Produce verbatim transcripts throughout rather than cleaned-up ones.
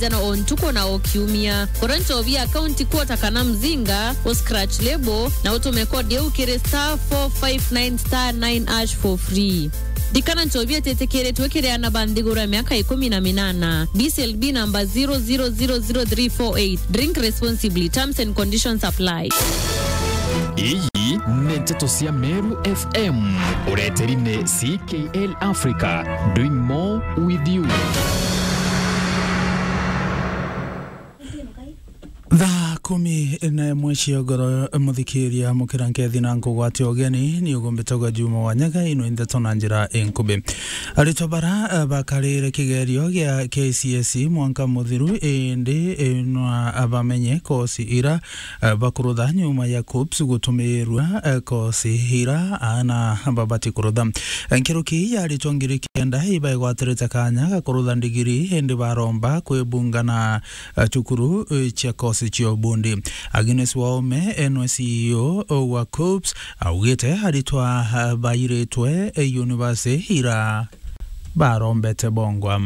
jana o ntuku na o kiumia. Gura nchobi ya county quarter kana mzinga, u scratch label, na utume code iu kiri star four five nine star nine hash for free. Ndikana nchobi ititikiritwe kiri ana ba nthiguru ya miaka ikumi na minana. B C L B number zero zero zero zero three four eight. Drink responsibly. Terms and conditions apply. Iyi ni nteto cia Meru F M. Ureteri ni C K L Africa, doing more with you. Thaa kumi na imwe cia ugoro, muthikiria, mukira nkethi na nkugwate ugeni, ni ugumbitagwa Juma wa Nyaga, ino ndeto na njira inkubi. Aritwa bara, eh, bakarire kigerio gia K C S E mwanka muthiru, indi, eh, nwa bamenye kosi ira, eh, bakurutha nyuma ya KUCCPS gutumirwa, eh, kosi ira ana babati kurutha. Nkuruki ya aritwa ngiri kenda ibaigwatirite kanya ga kurutha ndigiri, indi baromba kwibunga na, eh, cukuru, eh, cia kosi cia ubundi. Agnes Waome, enwe C E O wa KUCCPS, augite aritwa, eh, bairitwe, eh, university ira barombete bongwa.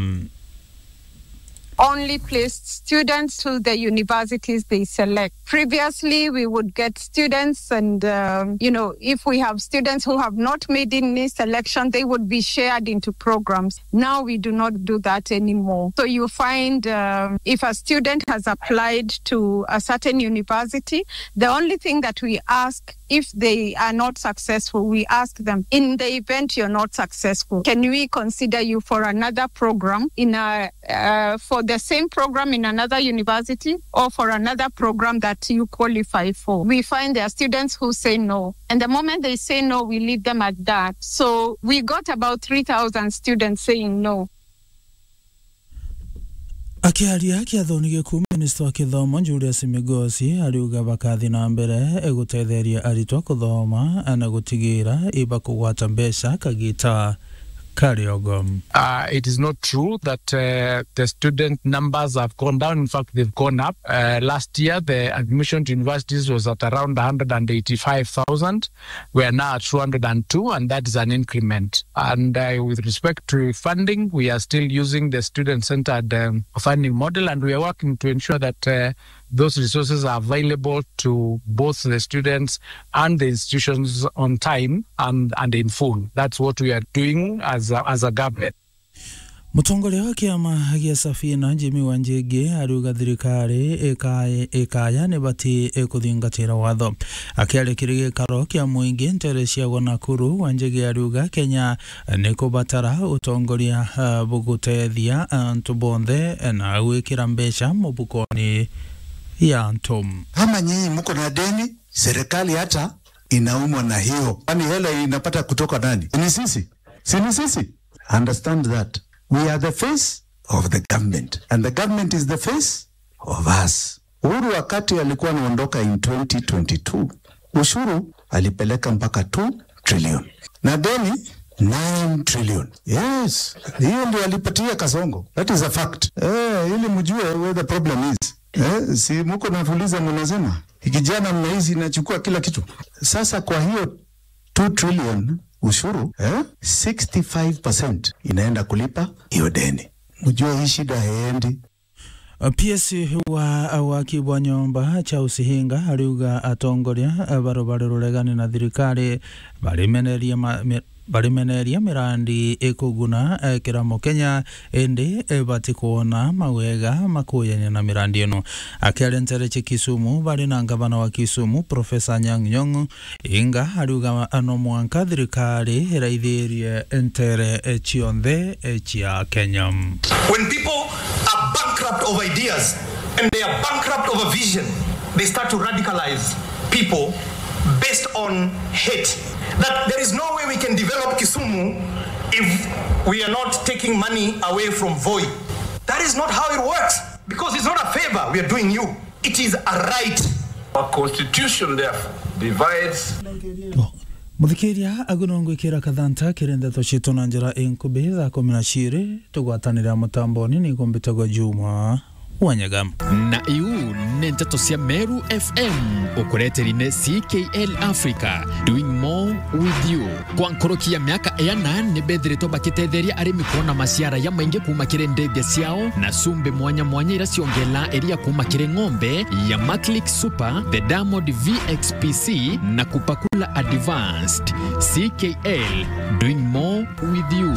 Only placed students to the universities they select. Previously, we would get students and, um, you know, if we have students who have not made any selection, they would be shared into programs. Now we do not do that anymore. So you find, um, if a student has applied to a certain university, the only thing that we ask, if they are not successful, we ask them, "In the event you're not successful, can we consider you for another program in a, uh, for the same program in another university or for another program that you qualify for?" We find there are students who say no. And the moment they say no, we leave them at that. So we got about three thousand students saying no. Akiaria kiathoni giku, minista wa kithomo Julius Migosi ariuga bakathi na mbere gutetheria aritwa kuthoma na gutigira ibakugwata mbeca kagita kariogo. Uh, it is not true that, uh, the student numbers have gone down. In fact, they've gone up. Uh, last year, the admission to universities was at around a hundred and eighty-five thousand. We are now at two hundred and two, and that is an increment. And, uh, with respect to funding, we are still using the student-centered, um, funding model, and we are working to ensure that, uh, those resources are available to both the students and the institutions on time and, and in full. That's what we are doing as a, as a government. Mutongoria wa kiama gia Safina, Jimmy Wanjigi, ariuga thirikari ikaya, ikaya ni bati kuthingatira watho. Akiaria kiri gikaro kia muingi ntere cia Nakuru, Wanjigi ariuga Kenya ni kubatara utongoria, ah, bugutethia antu bonthe na gwikira mbeca mubukoni ya antu. Kama nyinyi mko na deni, serikali hata inaumwa na hiyo. Kwani hela inapata kutoka nani? Ni sisi? Si ni sisi? Understand that we are the face of the government and the government is the face of us. Uhuru wakati alikuwa anaondoka in twenty twenty-two, ushuru alipeleka mpaka two trillion. Na deni nine trillion. Yes, hiyo ndio alipatia Kasongo. That is a fact. Eh, ili mjue where the problem is. Eh, si mko na Fuliza mnasema, kijana mnahisi inachukua kila kitu. Sasa kwa hiyo two trillion ushuru, eh, sixty-five percent inaenda kulipa hiyo deni. Mjue hii shida haiendi. P S wa waki bwa nyomba Charles Hinga ariuga atongoria, eh, barobare ruregani na thirikari barimeneria ma-, mi-, barimeneria mirandi ikuguna, eh, kira Mukenya, indi, eh, batikwona mawega makuyania na mirandi ino. Akiaria ntere cia Kisumu, bari na ngavana wa Kisumu, Professor Anyang' Nyong'o, Hinga ariuga no mwanka thirikari iraithirie ntere cionthe cia Kenya. When people are bankrupt of ideas and they are bankrupt of a vision, they start to radicalize people based on hate. That there is no way we can develop Kisumu if we are not taking money away from Voi. That is not how it works, because it's not a favor we are doing you. It is a right. Our constitution, therefore, divides. Bo, muthikiria, agu no ngwikira kathanta kiri ndeto cietu na njira inkubi. Thaa kumi na ciiri tugwatanire mutamboni, ni gumbitagwa Juma Wanyaga. Na iu ni nteto cia Meru F M, ukureteri ni C K L Africa, doing more with you. Kwa nkoroki ya miaka iana ni bethiritwe bakitetheria arimi kwona maciara ya maingi kuma kiri ndithia ciao na cumbi mwanya mwanya ira ciongela iria kuma kiri ng'ombe ya Maclick Super, the Diamond V X P C na Kupakula Advanced. C K L, doing more with you.